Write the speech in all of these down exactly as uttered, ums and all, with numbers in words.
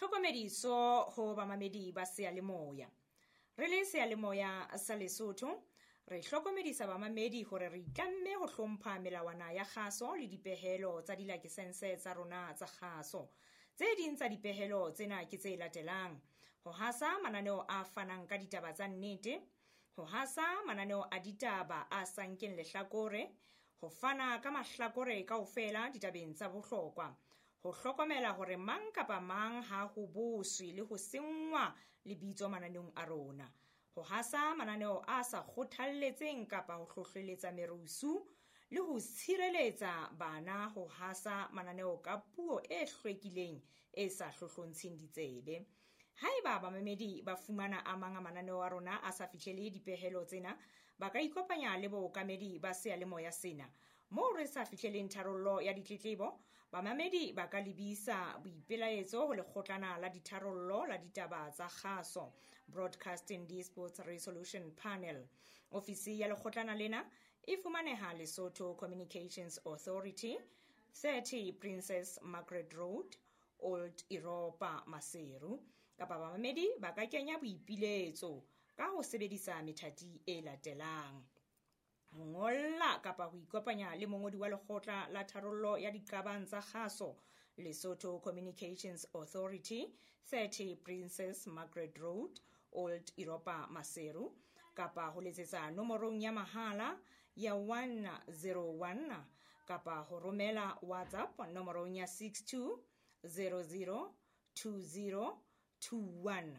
Tlhokomediso ho bamamedi ba seyalemoya. Re le seyalemoya sa Lesotho, re hlokomedisa bamamedi hore re itlamme ho hlompha melawana ya kgaso le dipehelo tsa dilakesense tsa rona tsa kgaso. Tse ding tsa dipehelo tsena ke tse latelang: ho hasa mananeo a fanang ka ditaba tsa nnete, ho hasa mananeo a ditaba a sa nkeng lehlakore, ho fana ka mahlakore kaofela ditabeng tsa bohlokwa, ho hlokomela hore mang kapa mang ha ho boswe le ho senngwa lebitso mananeong a rona, ho hasa mananeo a sa kgothalletseng kapa ho hlohleletsa merusu, le ho tshireletsa bana ho hasa mananeo ka puo e hlwekileng e sa hlohlontsheng ditsebe. Haeba bamamedi ba fumana a mang a mananeo a rona a sa fihlele dipehelo tsena, ba ka ikopanya le bookamedi ba seyalemoya sena. Moo re sa fihleleng tharollo ya ditletlebo, bamamedi ba ka lebisa boipelaetso ho lekgotlana la ditharollo la ditaba tsa kgaso, Broadcasting Disputes Resolution Panel. Ofisi ya lekgotlana lena e fumaneha Lesotho Communications Authority, thirty Princess Margaret Road, Old Europa, Maseru. Kapa bamamedi ba ka kenya boipiletso ka ho sebedisa methati e latelang: ho ngolla kapa ho ikopanya le mongodi wa lekgotla la tharollo ya diqabang tsa kgaso, Lesotho Communications Authority, thirty Princess Margaret Road, Old Europa, Maseru, kapa ho letsetsa nomorong ya mahala ya one zero one, kapa ho romela WhatsApp nomorong ya six two zero zero two zero two one,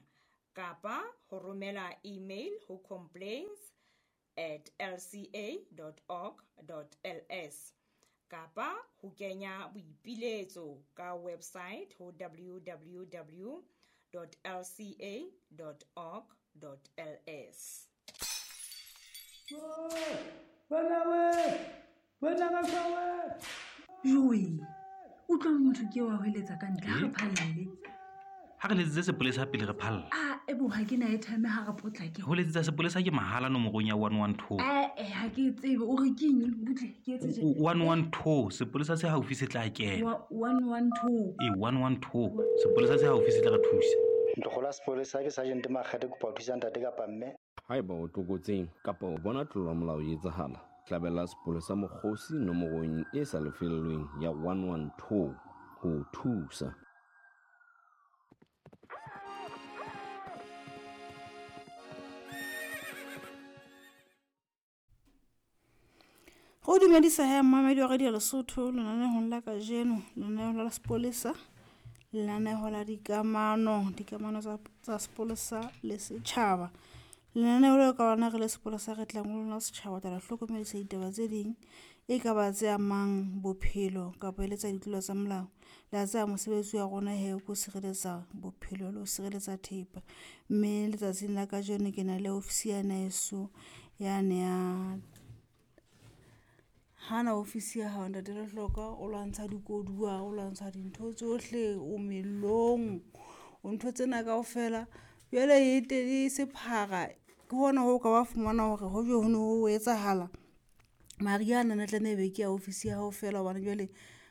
kapa ho romela email ho complaints at l c a dot org dot l s, kapa ho kenya boipiletso ka website ho w w w dot l c a dot org dot l s. Joe, utlwa motho ke wa hweletsa ka ntle, ha re phalle. Ha re letsetse sepolesa pele re phalla. Ah, ebo ha ke na airtime ha re potlake. Ho letsetsa sepolesa ke mahala nomorong ya one one two. Eh, eh, ha ke tsebe o re ke eng, butle ke etse tje. one one two, sepolesa se haufi se tla kena. one one two. E one one two, sepolesa se haufi se tla re thusa. Ntlogola sepolesa ke Sergeant Makgate, kopa ho thusa ntate kapa mme. Haeba o tlokotsing kapa o bona tlolo ya molao e etsahala, hlabela sepolesa mokgosi nomorong e sa lefellweng ya one one two ho thusa. Go dumedisa he mmamedi wa Radio Lesotho lenanehong la kajeno, lenaneho la sepolesa, lenaneho la dikamano, dikamano tsa tsa sepolesa le setjhaba. Lenaneo leo ka lona re le sepolesa re tlang ho lona setjhaba tla hlokomedisa ditaba tse ding e ka ba tse amang bophelo kapa e le tsa ditlolo tsa molao. Le a tseba mosebetsi wa rona he ke ho sireletsa bophelo le ho sireletsa thepa. Mme letsatsing la kajeno ke na le ofisi yana heso yane ya hana ofisi ya hao ntate Lehloka, o lwantsha dikoduwa, o lwantsha dintho tsohle, o mellong, o ntho tsena kaofela. Jwale e teng e sephara ke hona ho ka wa fumana hore ho jo ho no ho etsahala mariha ana ne tlameha ebe ke ya ofisi ya hao fela, hobane jwale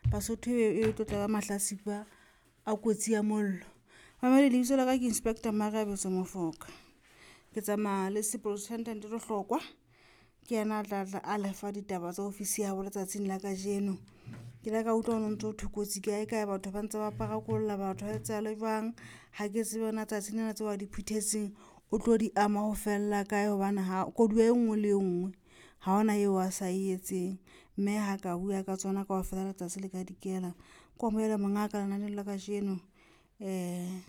Basotho e tlo tla ba mahlasipa a kotsi ya mollo. Mamedi, lebitso la ka ke Inspector Mareabetso Mofoka. Ke tsamaya le Superintendent Lehlokwa, ke yena a tla tla a lefa ditaba tsa ofisi ya habo letsatsing la kajeno. Ke ile ka utlwa ho ntso thwe kotsi kae kae, batho ba ntse ba parakolla batho ha etsahale jwang. Ha ke tsebe na tsatsing lena tseo a di phuthetseng o tlo di ama ho fella kae, hobane ha koduwa e nngwe le e nngwe ha hona eo a sa e etseng. Mme ha ka bua ka tsona kaofela letsatsi le ka dikela. Ko amohele mongaka lenaneo la kajeno um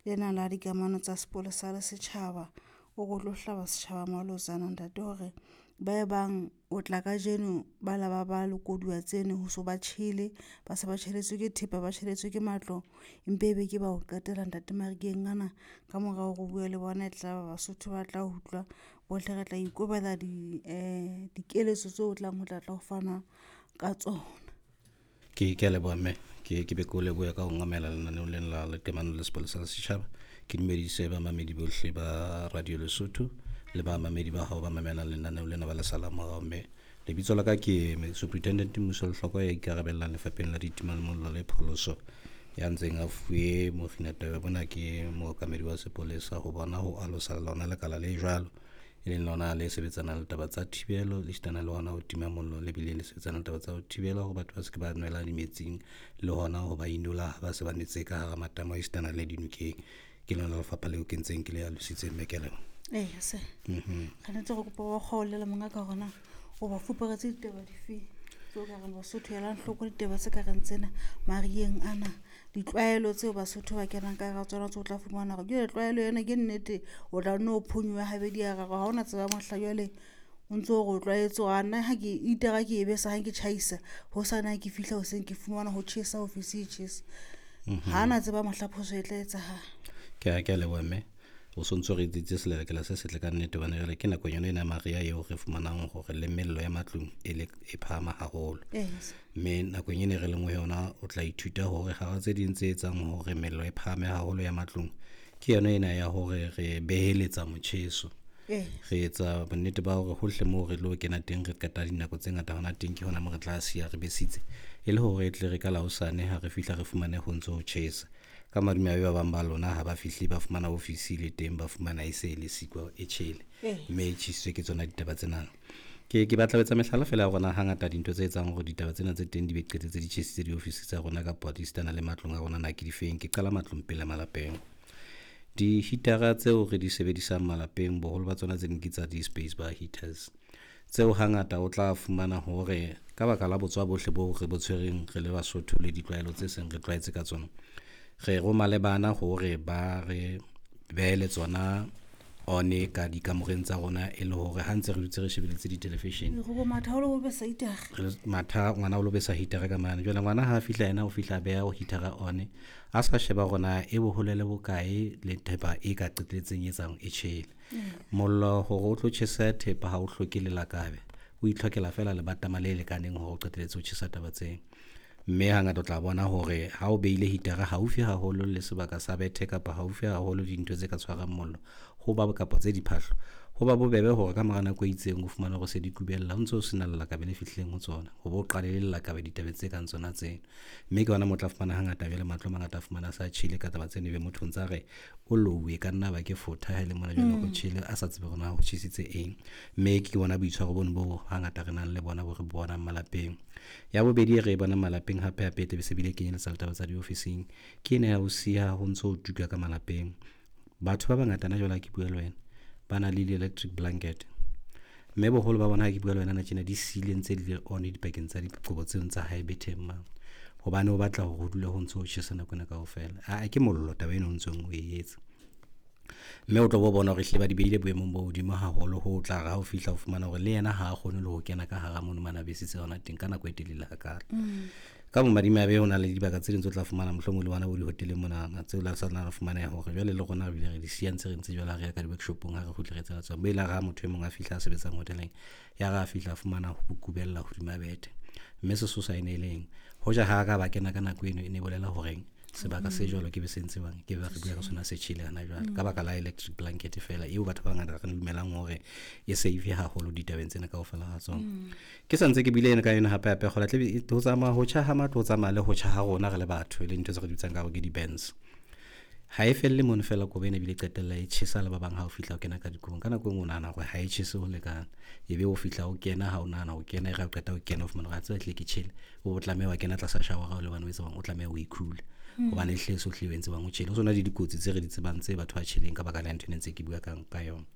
lena la dikamano tsa sepolesa le setjhaba. O re o tlo hlaba setjhaba malotsana ntate hore ba e bang o tla kajeno ba la ba ba le koduwa tseno ho so ba tjhele, ba se ba tjheletswe ke thepa, ba tjheletswe ke matlo, empe ebe ke ba ho qetela ntate Marikeng ana. Ka mora hore o bue le bona e tla ba Basotho ba tla utlwa bohle, re tla ikobela di eh dikeletso tseo o tlang ho tla tla ho fana ka tsona. Ke ke a leboha mme, ke ke be ke o lebohe ka ho ngamela lenaneong lena la leqemano le sepolesa la setjhaba. Ke dumedise bamamedi bohle ba Radio Lesotho le bamamedi ba hao ba mamelang lenaneo lena ba le salang morao. Mme lebitso la ka ke Superintendent Mmuso Lehlokwa ya ikarabellang lefapheng la ditima mollo le pholoso Ya ntseng a fuwe mokginataba bona ke mookamedi wa sepolesa ho bona ho alosa lona lekala le jwalo, e leng lona le sebetsanang le taba tsa thibelo le esitana le hona ho tima mollo, le bile le sebetsanang le taba tsa ho thibela hore batho ba se ke ba nwela dimetsing le hona ho ba inola ha ba se ba nwetse ka hara matamo a esitana le dinokeng. Ke lona lefapha leo ke ntseng ke le alositse mme ke a leboha. Ee, se. Mhm. Re ntse re kopa ba kgaolele monga ka hore na o ba fuperetse ditaba dife tseo ka reng Basotho elang hloko ditaba tse ka reng tsena mariheng ana, ditlwaelo tseo Basotho ba kenang ka hara tsona tseo o tla fumana hore jwale tlwaelo ena ke nnete, o tla nne o phonyohe habedi ha raro, ha hona tseba mohla jwale o ntso re o tlwaetse hore a nna ha ke itara ke e besa ha ke tjhaisa, hosane ha ke fihla hoseng ke fumana ho tjhesa ofisi e tjhesa. Ha na tseba mohla phoso e tla etsahala. Ke a ke a leboha mme. O sontso re etsitse selelekela se setle ka nnete hobane jwale ke nakong yona ena ya mariha eo re fumanang hore le mello ya matlung e le e phahama haholo. Yes. Mme nakong ena re leng ho yona o tla ithuta hore hara tse ding tse etsang hore mello e phahame haholo ya matlung ke yona ena ya hore re beheletsa motjheso. Yes. Re etsa bonnete ba hore hohle moo re tlo kena teng re qeta dinako tse ngata hona teng, ke hona moo re tla siya re besitse e le hore e tle re ka la hosane ha re fihla re fumane ho ntso ho tjhesa. Ka madimabe ba bang ba lona ha ba fihle ba fumana ofisi le teng, ba fumana e se e le siko e tjhele, Eh. mme e tjhesitswe ke tsona ditaba tsena. Ke ke batla ho etsa mehlala fela ya rona hangata dintho tse etsang hore ditaba tsena tse teng di be qetetse di tjhesitse diofisi tsa rona kapa di sitana le matlong a rona na ke difeng. Ke qala matlong pele malapeng. Di-heater-a tseo re di sebedisang malapeng boholo ba tsona tse ding ke tsa di-space bar heaters, tseo hangata o tla fumana hore ka baka la botswa bohle bo re bo tshwereng re le Basotho le ditlwaelo tse seng re tlwaetse ka tsona, re roma le bana hore ba re behele tsona one ka dikamoreng tsa rona e le hore ha ntse re dutse re shebeletse di-television. Re bo matha o lo besa heater. Re matha ngwana o lo besa heater ka mane. Jwale ngwana ha a fihla yena o fihla a beha heater one, a sa sheba hore na e bohole le bokae le thepa e ka qetelletseng e etsang e tjhele. Mollo hore o tlo tjhesa thepa ha o hloke lelakabe, o itlhokela fela lebatama le lekaneng hore o qetelletse o tjhesa taba tseo. Mme hangata o tla bona hore ha o beile heater haufi haholo le sebaka sa bethe kapa haufi haholo le dintho tse ka tshwarang mollo, ho ba kapa tse diphahlo, ho ba bobebe hore ka mora nako e itseng o fumane hore se di kubella ho ntso ho sena lelakabe le fihlileng ho tsona, ho bo qale le lelakabe ditabeng tse kang tsona tseno. Mme ke hona moo o tla fumana hangata jwale matlo a mangata a fumana a sa tjhele ka taba tseno, ebe motho o ntsa re o louwe ka nna ba ke fotha ha e le mona jwale ho tjhele a sa tsebe hore na ho tjhesitse eng. Mme ke bona boitshwaro bono bo hangata re nang le bona bo re bonang malapeng. Ya bobedi e re e bonang malapeng hape hape e tlabe se bile kenyeletsa le taba tsa diofising, ke ena ya ho siya ho ntso ho tuka ka malapeng. Batho ba bangata na jwale ha ke bua le wena ba na le di-electric blanket, mme boholo ba bona ha ke bua le wena na tjena di siile ntse di le on dipakeng tsa dikobo tseo tsa hae betheng mane, hobane o batla hore ho dule ho ntso ho tjhesa nako ena kaofela. Aa ke mollo taba eno o ntsong o e etsa, mme o tlo bo bona hore ehlile ba di beile boemong bo hodimo haholo ho tla re ha o fihla o fumana hore le yena ha a kgone le ho kena ka hara mono mane a besitse hona teng ka nako e telele hakalo. Ka bomadimabe ho na le dibaka tse ding tse o tla fumana mohlomong le bona bo dihoteleng monana tseo la sa na fumaneha hore jwale le rona re bile re di siya ntse re ntse jwale ha re ya ka di-workshop-ong ha re kgutle re etsa tsona. Mme elare ha motho e mong a fihla a sebetsang hoteleng, ya re a fihla a fumana ho kubella hodima bethe, mme sesosa e ne e leng hoja ha ka ba kena ka nako eno e ne bolela horeng sebaka se jwalo ke be se ntse bang ke ba re bua ka sona se tjhele hana jwale ka baka la electric blanket fela eo batho ba bangata re dumelang hore e safe haholo ditabeng tsena kaofela ha tsona. Ke sa ntse ke buile ena ka yona hape hape kgola tle ho tsamaya ho tjha ha matlo, ho tsamaya le ho tjha ha rona re le batho, e leng ntho tse re di bitsang ka hore ke di-burns. Ha e felle mono fela kobo ena ebile qetella e tjhesa le ba bang ha o fihla o kena ka dikobong. Ka nako e nngwe o nahana hore ha e tjhese ho lekana, ebe o fihla o kena ha o nahana ho kena, e re ha o qeta ho kena o fumana hore a tseba ehlile ke tjhele, o tlameha wa kena tlasa shower-a o le hobane o etsa o tlameha o ikhule hobane ehlile so hlile o entse bang o tjhele. Ho sona le dikotsi tse re di tsebang tse batho ba tjheleng ka baka la ntho ena ntse ke bua ka ka yona,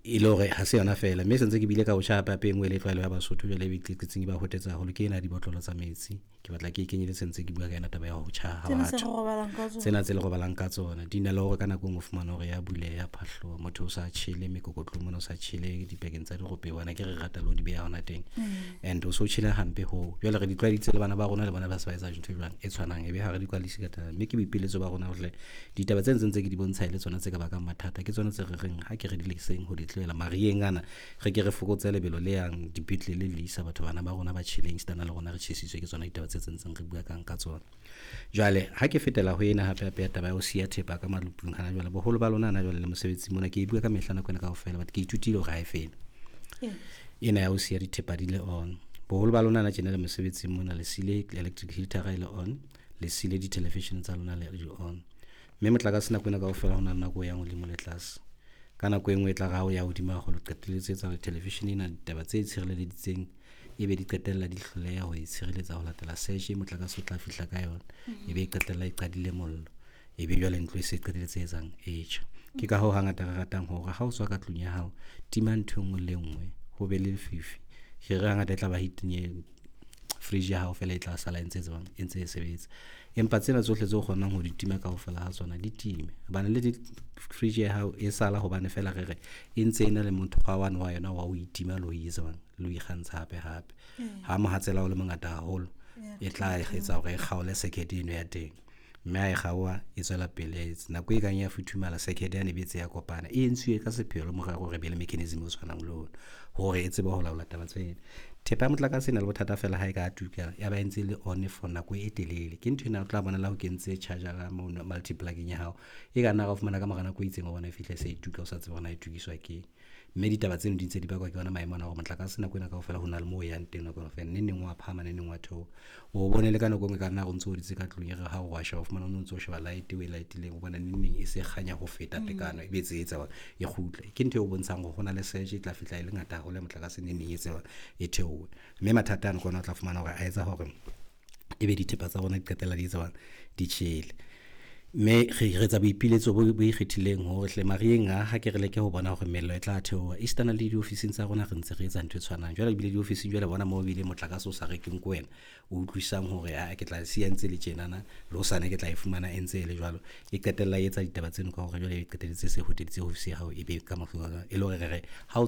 e le hore ha se yona fela. Mme se ntse ke bile ka ho tjha hape hape e nngwe e le tlwaelo ya Basotho jwale e tletseng e ba hotetsa haholo ke ena ya dibotlolo tsa metsi. Ke batla ke e kenyeletse ntse ke bua ka yona taba ya ho tjha ha Tsena tse batho. re robalang ka tsona. Tsena tse le robalang ka tsona di na le hore ka nako e nngwe o fumane hore ya buleha, ya phahloha, motho o sa tjhele mekokotlong mona, o sa tjhele dipakeng tsa dirope, bona ke re rata le ho di beha hona teng. And o so tjhele hampe hoo. Jwale re di tlwaeditse le bana ba rona, le bona ba se ba etsa dintho jwang e tshwanang, ebe ha re di kwalise ka taba. Mme ke boipiletso ba rona hore ditaba tse ntseng tse ke di bontsha e le tsona tse ka bakang mathata, ke tsona tse re reng ha ke re di leseng ho di tlohela mariheng ana, re ke re fokotse lebelo le yang dipetlele le isa batho bana ba rona ba tjheleng esitana le rona re tjhesitswe ke tsona ditaba tse tse ntseng re bua kang ka tsona. Jwale ha ke fetela ho ena hape hape ya taba ya ho siya thepa ka malupung hana jwale, boholo ba lona hana jwale le mosebetsi mona, ke e bua ka mehla nako ena kaofela, but ke ithutile hore ha e fele ena ya ho siya dithepa di le on. Boholo ba lona hana tjena le mosebetsing mona le siile electric heater e le on, Le siile di-television tsa lona le di on. Mme motlakase nako ena kaofela ho na le nako e yang hodimo le tlase. Ka nako e nngwe e tla re ha o ya hodimo haholo, qetelletse etsa hore television ena ditaba tse tshireleditseng ebe di qetella di hloleha ho e tshireletsa ho latela surge e motlakase o tla fihla ka yona. Ebe e qetella e qadile mollo. Ebe jwale ntlo e se qetelletse e etsang e tjha. Ke ka hoo hangata re ratang hore ha o tswa ka tlung ya hao, tima ntho e nngwe le e nngwe, ho be le lefifi. Re re hangata e tla ba heating fridge ya hao fela e tla sala e ntse tsebang e ntse e sebetsa. Empa tsena tsohle tseo kgonang ho di tima kaofela ha tsona di time. Hobane le di fridge ya hao e sala hobane fela re re e ntse e na le mokgwa wane wa yona wa ho itima le ho etsa le ho ikgantsha hape hape. Ha mohatsela o le mongata haholo, e tla etsa hore e kgaole circuit eno ya teng. Mme ha e kgaoha e tswela pele nako e kang ya futhumala circuit yane e be tse ya kopana. E entsuwe ka sepheo le morero hore e be le mechanism o tshwanang le ono hore e tsebe ho laola taba tsena. Thepa ya motlakase e na le bothata fela ha e ka tuka ya ba e ntse le on for nako e telele. Ke ntho ena o tla bona le ha o kentse charger-a mono multiplug-eng ya hao, e ka nna ra o fumana ka mora nako e itseng o bona e fihle se e tuka o sa tsebe hore na e tukiswa keng. Mme ditaba tseno di ntse di bakwa ke yona maemo ana hore motlakase nako ena kaofela ho na le moo o yang teng nako ena kaofela. Neng neng wa phahama, neng neng wa theoha. O bone le ka nako e nngwe e ka nna re o ntso o dutse ka tlung e re ha o wa sheba o fumana o ntso o sheba light o e light-ileng o bona neng neng e se kganya ho feta tekano ebe tse etsa hore e kgutle. Ke ntho e o bontshang hore ho na le surge e tla fihla e le ngata haholo ya motlakase neng neng e etsa e theohe. Mme mathata ano ke ona o tla fumana hore a etsa hore ebe dithepa tsa rona di qetella di etsa di tjhele. Mme re re etsa boipiletso bo bo ikgethileng hore hle mariheng a ha ke re leke ho bona hore mello e tla theoha. Esitana le diofising tsa rona re ntse re etsa ntho e tshwanang. Jwale ebile diofising jwale bona moo ebile motlakase o sa rekeng ke wena, o utlwisisang hore aa ke tla siya ntse le tjenana le hosane ke tla e fumana e ntse e le jwalo. E qetella e etsa ditaba tseno ka hore jwale e qetelletse se hoteditse ofisi ya hao ebe ka e le hore re re ha o